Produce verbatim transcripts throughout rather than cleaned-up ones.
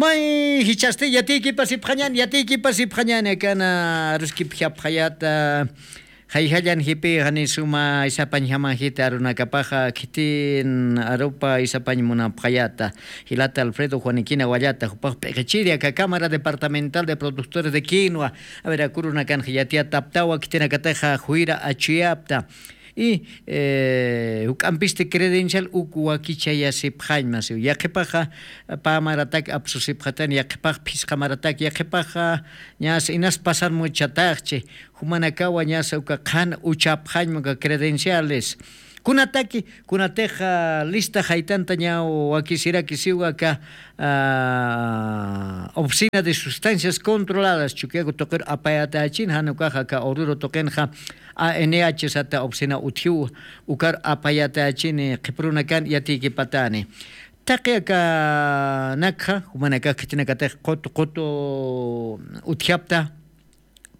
May jichhasti yatiykipasipxañan yatiykipasipxañan akana aruskipjapxayata. Jayjallan jipi jani suma isapañjaman jita arunakapaxa khitin arupa isapañ munapxayata. Jilata alfredo juanikina wallata jupax p'iqichiri aka cámara departamental de productores de quinua. Avera kurunakanxa yatiyataptawa khitinakataxa juyra achuyapta. Y juk'ampisti credencial uk wakichayasipxañma siw yaqhipaxa pamaratak apsusipxatan yaqhipax phisqamaratak yaqhipaxa. Ñasa inas pasan muchataxchi. Jumanakawa ñasa uka qhan uchapxañma uka credenciales. Kunataki kunatixa lista jaytanta ña wakisiraki siw aka oficina de sustancias controladas chukiaku tuqiru apayatayachin jan ukaxa aka ururu tuqinxa. A n h sata oficina utjiw ukar apayatayachini qhiprunakan yatiykipatani. Taqi akanakxa jumanakax khitinakatix qutu qutu utjapta.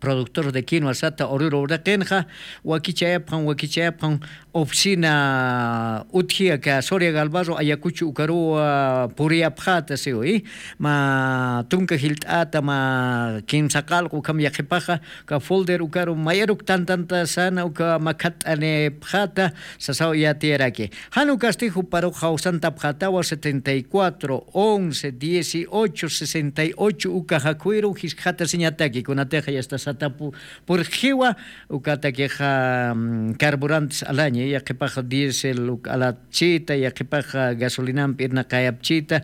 Productor de quinua sata ururu uraqinxa wakichayapxan wakichayapxan oficina utji aka soria galvarro ayakuchu ukaruwa puriyapxata siwi. Ma tunka jilt'ata ma kimsa qalqu ukham yaqhipaxa uka folder ukaru mayaruk tantanta sana uka makhat'anipxata. Sasaw yatiyaraki jan ukasti juparux jawsantapxatawa setenta y cuatro once dieciocho sesenta y ocho uka jakhuyru jiskxatasiñataki kunatixa yasta satapu purxjiwa. Ukatakixa carburantes alaña yaqhipax diésel uk alapchita yaqhipax gasolinampi irnaqayapchita.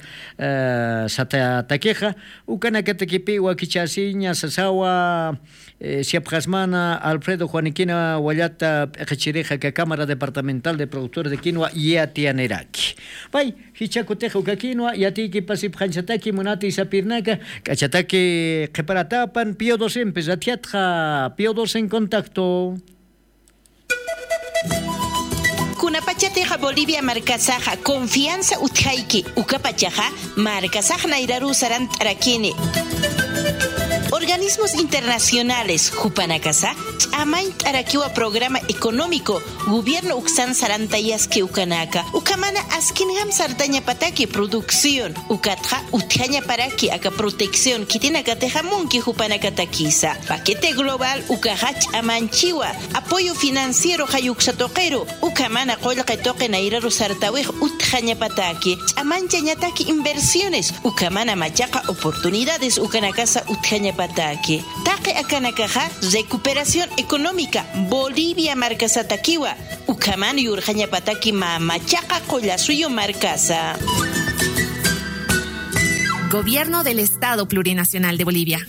Satatakixa ukanakatakipi wakichasiña sasawa. Siapxasmana alfredo juanikina wallata p'iqichirixa aka cámara departamental de productores de quinua yatiyaniraki. Pay jichhakutix uka quinua yatiykipasipxañsataki munati sapirnaka k'achataki qhiparatapan pio dosempi rathiatxa pio dos en contacto. Kunapachatixa bolivia markasaxa confianza utjayki ukapachaxa markasax nayraruw sarant'arakini. Organismos internacionales jupanakasa ch'amañt'arakiwa programa económico gobierno uksan sarantayaski ukanaka ukhamana askinjam sartañapataki producción ukatxa utjañaparaki aka protección khitinakatixa munki jupanakatakisa paquete global ukaxa ch'amanchiwa. Apoyo financiero jayuksa tuqiru ukhamana qullqi tuqi nayraru sartawix utjañapataki ch'amanchañataki inversiones ukhamana machaqa oportunidades ukanakasa utjañapataki. Taqi akanakaxa recuperación económica bolivia markasatakiwa ukhamana yurqañapataki mä machaqa qullasuyu markasa. Gobierno del estado plurinacional de bolivia.